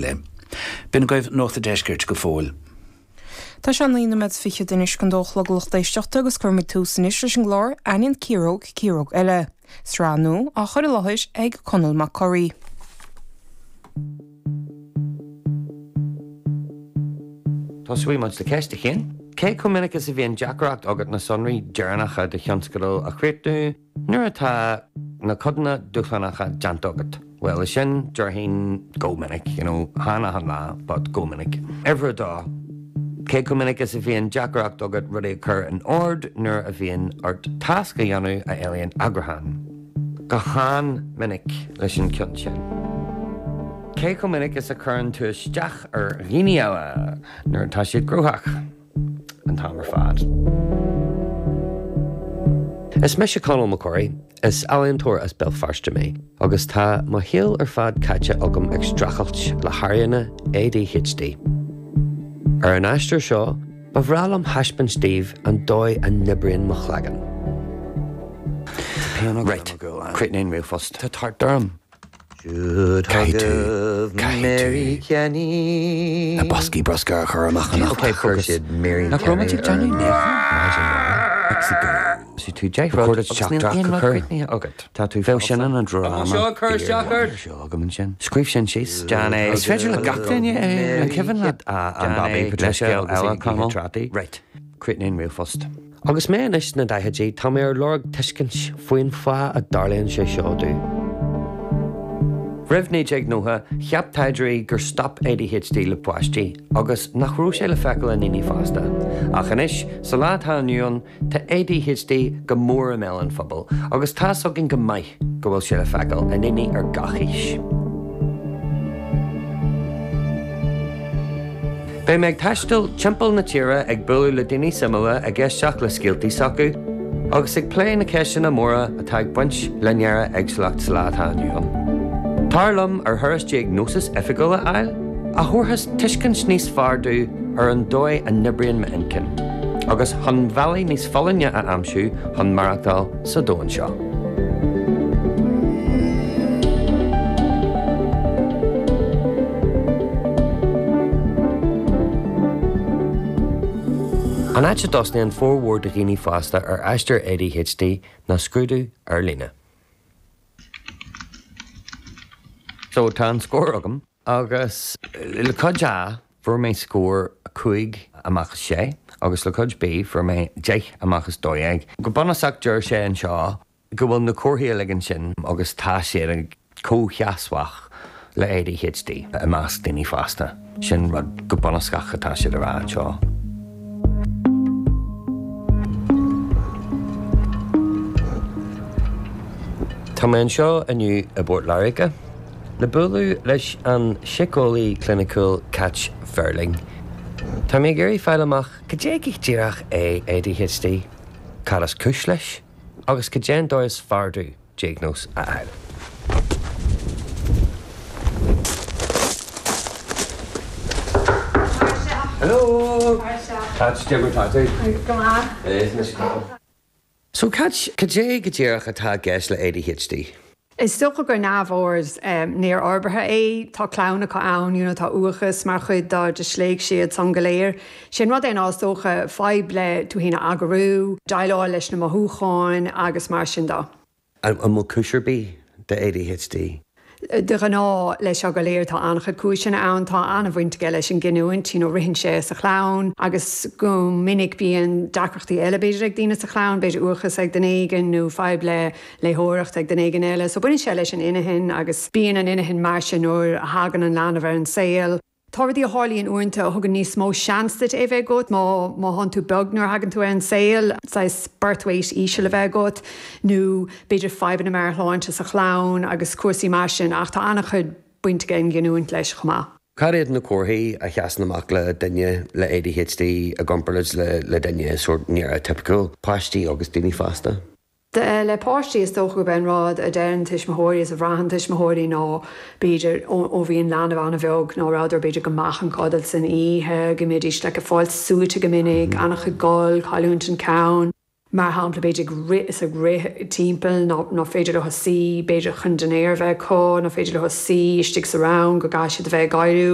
B'in agaibh Nuacht an Deiscirt go fóill. Tá sé 9 nóiméad fichead anois chun dó a chlog a lucht éisteachta agus cuirfimid tús anois leis an gclár Aithníonn Ciaróg Ciaróg Eile, sraith nua á chur i láthair ag Conall Mac Corraidh. Tosóidh muid le ceist a haon. Cé chomh minic is a bhíonn deacracht agat na sonraí deireanacha de thionscadal a chríochnú nuair atá na codanna dúshlánacha déanta agat? Bhuel, leis sin, déarfainn go minic, you know, chan achan lá, but go minic. Uimhir a dó. Cé chomh minic is a bhíonn deacracht agat rudaí a chur in ord nuair a bhíonn ort tasc a dhéanamh a éilíonn eagrúchán? Go han-minic leis an ceann sin. Cé chomh minic is a chuireann tú isteach ar dhaoine eile nuair atá siad gnóthach? An t-am ar fad. Is mise Conall Mac Corraidh, is ealaíontóir as Béal Feirste mé agus tá mo shaol ar fad caite agam ag streachailt le hairíonna ADHD. Ar an aistear seo, Ba bhreá liom thaispeáint daoibh an dóigh a n-oibríonn mo chloigeann. Right, críochnaigh an ríomhphost. Tá tart orm. Caithfidh tú, caithfidh tú na boscaí bruscair a chur amach anocht. Ok, focus. Nach raibh muid ag déanamh níocháin? Bhí tú deich rud agus níl aon rud críochnaithe agat. Tá tú Bheadh sin ina dráma fíor seo agam ansin. Scríobh sin síos. Déan é. Is féidir le gach duine é. An cuimhin leat an Babaí Patricia agus eile Conall? Right. Críochnaigh an ríomhphost. Agus mé anois sna daichidí, tá mé ar lorg tuiscint faoin fáth a dtarlaíonn sé seo domh. Roimh 1990, cheap taighdeoirí gur stop ADHD le páistí agus nach raibh sé le feiceáil i ndaoine fásta. Ach anois, sa lá atá inniu ann, Tá ADHD go mór i mbéal an phobail agus tá's againn go maith go bhfuil sé le feiceáil i ndaoine ar gach aois. Beidh mé ag taisteal timpeall na tíre ag bualadh le daoine suimiúla, ag éisteacht le scéaltaí s'acu agus ag plé na ceisteanna móra atá ag baint le néara-éagsúlacht sa lá atá inniu ann. Tar liom ar thuras diagnósis oifigiúil a fháil, a thabharfas tuiscint níos fearr domh ar an dóigh a n-oibríonn m'intinn, agus chun bealaí níos folláine a aimsiú chun maireachtáil sa domhan seo. An áit a dtosnaíonn formhór de dhaoine fásta ar aistear ADHD ná scrúdú ar líne. So, tá an scór agam. Agus le cuid A, fuair mé scór 5 amach as 6, agus le cuid B, fuair mé 10 amach as 12. Go bunúsach, deir sé anseo go bhfuil na comharthaí uilig ansin agus tá siad comhsheasmhach le ADHD i measc daoine fásta. Sin rud go bunúsach atá siad a rá anseo. Tá mé anseo inniu i bPort Láirge. Le bualadh leis an síceolaí cliniciúil Cáit Verling. Tá mé ag iarraidh fáil amach cad é go díreach é ADHD, cad is cúis leis, agus cad é an dóigh is fearr domh diagnóis a fháil. Hello! Cáit, cad é mar tá tú? Go maith. Is mise Conall. So Cáit, cad é go díreach atá i gceist le ADHD? Is dócha gur neamhord néarfhorbartha é. Tá cleamhnacha ann, you know, tá uathachas mar chuid dá disléicse iad san go léir. Sé an rud é ná is dócha fadhb le tú féin a eagrú, déileáil leis na mothúcháin agus mar sin de. An bhfuil cúis ar bith do ADHD? De ghnáth, leis seo go léir, tá an-chuid cúiseanna ann. Tá an-bhaint aige leis an gcinniúint, you know, ritheann sé sa chlann agus go minic bíonn deacrachtaí eile b'fhéidir ag daoine sa chlann, b'fhéidir uathachas ag duine éigin nó fadhb le léitheoireacht ag duine éigin eile. So baineann sé leis an inchinn agus bíonn an inchinn mar sin nuair a thagann an leanbh ar an saol. Tá rudaí a tharlaíonn uaireanta a thugann níos mó seans duit é bheith agat, má má thánn tú beag nuair a thagann tú ar an saol, saghas birth weight íseal a bheith agat, nó b'fhéidir fadhbanna meabhairshláinte sa chlann agus cúrsaí mar sin, ach tá an-chuid baint ag an ghiniúint leis chomh maith. Cad iad na comharthaí a sheasann amach le duine le ADHD i gcomparáid le le duine sórt néara-tipiciúil, páistí agus daoine fásta? Le páistí, is dócha gurb é an rud a deireann tuismitheoirí is a bhraitheann tuismitheoirí ná b'fhéidir ó bhí an leanbh an-bheag ná rabhadar b'fhéidir go mach an codladh san oíche, go mbídís like ag fáil suaite go minic, an-chuid gol, cailliúint an ceann. Mar shampla, b'fhéidir ag rith is ag rith timpeall, ná féidir leo suí, b'fhéidir chun dinnéar a bheith acu, ná féidir leo suí istigh sa rang, go gcaithfidh siad a bheith ag éiriú.